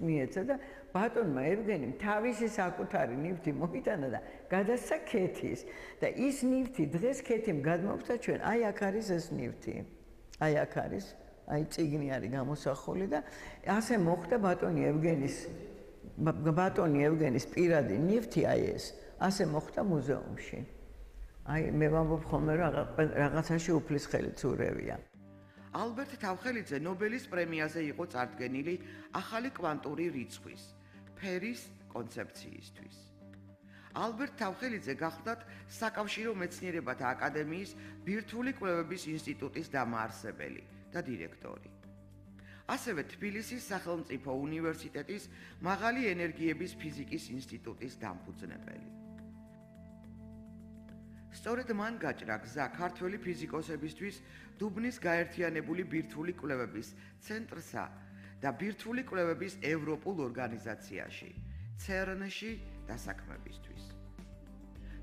მიეცა და ბატონმა ევგენიმ თავისი საკუთარი ნივთი მოიტანა და გადასცა ქეთის და ის ნივთი დღეს ქეთიმ გადმოვხდა ჩვენ აი აქ არის ეს ნივთი აი აქ არის აი წიგნი არის გამოსახული და ასე მოხდა ბატონი ევგენის პირადი ნივთი აი ეს ასე მოხდა მუზეუმში აი მე ვამბობ ხოლმე რომ რაღაცაში უფლის ხელით ურევია ალბერტ თავხელიძე ნობელის პრემიაზე იყო წარდგენილი ახალი კვანტური რიცხვის ფერის კონცეფციისთვის. ალბერტ თავხელიძე გახლდათ საკავშირო მეცნიერებათა აკადემიის ბირთვული კვლევების ინსტიტუტის დამაარსებელი და დირექტორი. ასევე თბილისის სახელმწიფო უნივერსიტეტის მაღალი ენერგიების ფიზიკის ინსტიტუტის დამფუძნებელი. სწორედ მან გაჭრა გზა ქართველი ფიზიკოსებისთვის დუბნის გაერთიანებული ბირთვული კვლევების ცენტრსა და ბირთვული კვლევების ევროპულ ორგანიზაციაში, CERN-ში დასაქმებისთვის.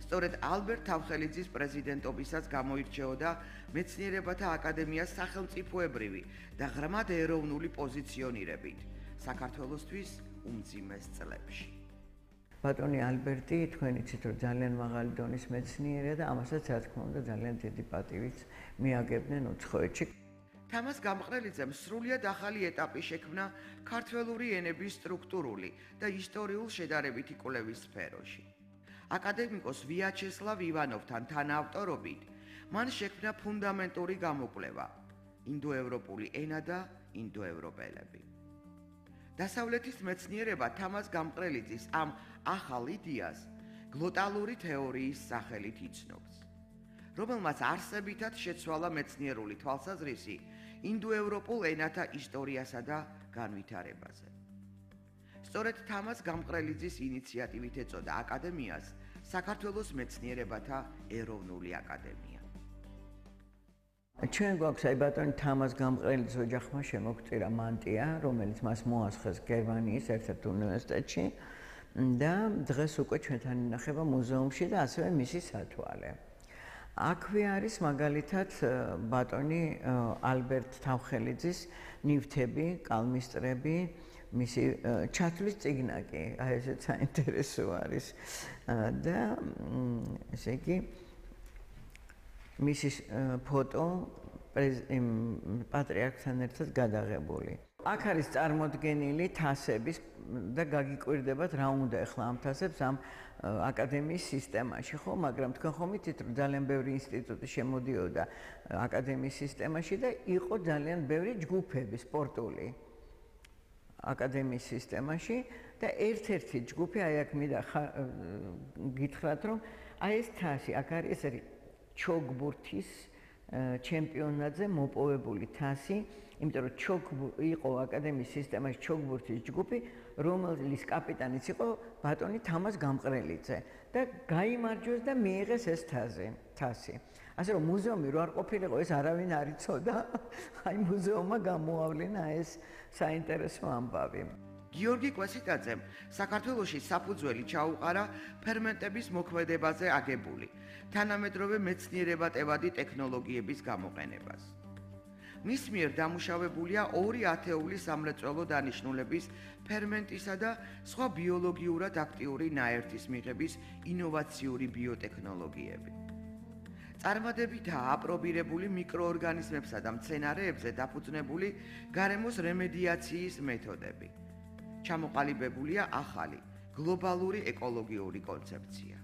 სწორედ ალბერტ თავხელიძის პრეზიდენტობისას გამოირჩეოდა მეცნიერებათა აკადემიას სახელმწიფოებრივი და ღრმად ეროვნული პოზიციონირებით საქართველოსთვის უმძიმეს წლებში. ბატონი ალბერტი თქვენ იცით რომ ძალიან მაღალი დონის მეცნიერია და ამასაც რა თქმა უნდა ძალიან დიდი პატივით მიაგებდნენ უცხოეთში. თამაზ გამყრელიძემ სრულიად ახალი ეტაპი შექმნა ქართველური ენების სტრუქტურული და ისტორიულ შედარებითი კვლევის სფეროში. აკადემიკოს ვიაჩესლავ ივანოვთან თანაავტორობით მან შექმნა ფუნდამენტური გამოკვლევა ინდოევროპული ენა და ინდოევროპელები. დასავლეთის მეცნიერება თამაზ გამყრელიძის ამ ახალ იდეას გლოტალური თეორიის სახელით იცნობს, რომელმაც არსებითად შეცვალა მეცნიერული თვალსაზრისი ინდოევროპულ ენათა ისტორიასა და განვითარებაზე. სწორედ თამაზ გამყრელიძის ინიციატივით ეწოდა აკადემიას საქართველოს მეცნიერებათა ეროვნული აკადემია. ჩვენ გვაქვს აი ბატონი თამაზ გამყრელიძის ოჯახმა შემოგწირა მანტია, რომელიც მას მოასხეს გერმანიის ერთ-ერთ უნივერსიტეტში და დღეს უკვე ჩვენთან ინახება მუზეუმში და ასევე მისი სათვალე. აქვე არის მაგალითად ბატონი ალბერტ თავხელიძის ნივთები, კალმისტრები, მისი ჩათვლის წიგნაკი, აი ესეც საინტერესო არის და ესე იგი მისი ფოტო პატრიარქთან ერთად გადაღებული. აქ არის წარმოდგენილი თასების და გაგიკვირდებათ რა უნდა ახლა ამ თასებს ამ აკადემიის სისტემაში, ხო, მაგრამ თქვენ ხომ იცით რომ ძალიან ბევრი ინსტიტუტი შემოდიოდა აკადემიის სისტემაში და იყო ძალიან ბევრი ჯგუფები სპორტული აკადემიის სისტემაში და ერთ-ერთი ჯგუფი აი აქ მინდა გითხრათ რომ აი ეს თასი აქ არის ეს არის ჩოგბურთის ჩემპიონატზე მოპოვებული თასი, იმიტომ რომ იყო აკადემიის სისტემაში ჩოგბურთის ჯგუფი, რომელის კაპიტანიც იყო ბატონი თამაზ გამყრელიძე და გაიმარჯვეს და მიიღეს ეს თასი. ასე რომ მუზეუმი რო არ ყოფილიყო, ეს არავინ არ იცოდა. აი მუზეუმმა გამოავლინა ეს საინტერესო ამბავი. გიორგი კვესიტაძემ საქართველოში საფუძველი ჩაუყარა ფერმენტების მოქმედებაზე აგებული თანამედროვე მეცნიერებადებადი ტექნოლოგიების გამოყენებას. მის მიერ დამუშავებულია ორი ათეული სამრეწველო დანიშნულების ფერმენტისა და სხვა ბიოლოგიურად აქტიური ნაერთის მიღების ინოვაციური ბიოტექნოლოგიები. წარმატებითაა აპრობირებული მიკროორგანიზმებსა და მცენარეებზე დაფუძნებული გარემოს რემედიაციის მეთოდები. ჩამოყალიბებულია ახალი გლობალური ეკოლოგიური კონცეფცია.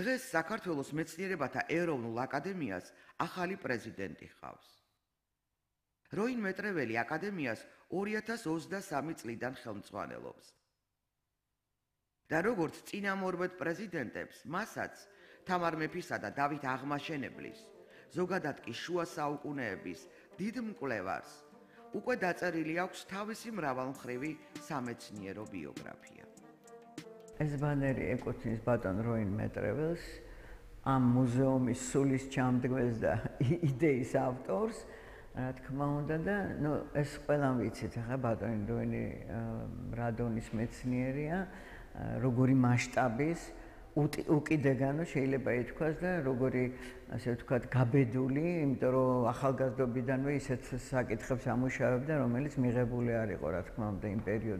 დღეს საქართველოს მეცნიერებათა ეროვნულ აკადემიას ახალი პრეზიდენტი ჰყავს. როინ მეტრეველი აკადემიას 2023 წლიდან ხელმძღვანელობს. და როგორც წინამორბედ პრეზიდენტებს, მასაც თამარ მეფისა და დავით აღმაშენებლის, ზოგადად კი შუა საუკუნეების დიდ მკვლევარს უკვე დაწერილი აქვს თავისი მრავალმხრივი სამეცნიერო ბიოგრაფია. ეს ბანერი ეკუთვნის ბატონ როინ მეტრეველს, ამ მუზეუმის სულის ჩამდგმელს და იდეის ავტორს, რა თქმა უნდა და ეს ყველამ ვიცით, ახლა ბატონი როინი რა დონის მეცნიერია, როგორი მასშტაბის უკიდეგანო შეიძლება ითქვას და როგორი ასე ვთქვათ გაბედული, იმიტომ რომ ახალგაზრდობიდანვე ისეთ საკითხებს ამუშავებდა, რომელიც მიღებული არ იყო რა თქმა უნდა იმ პერიოდში.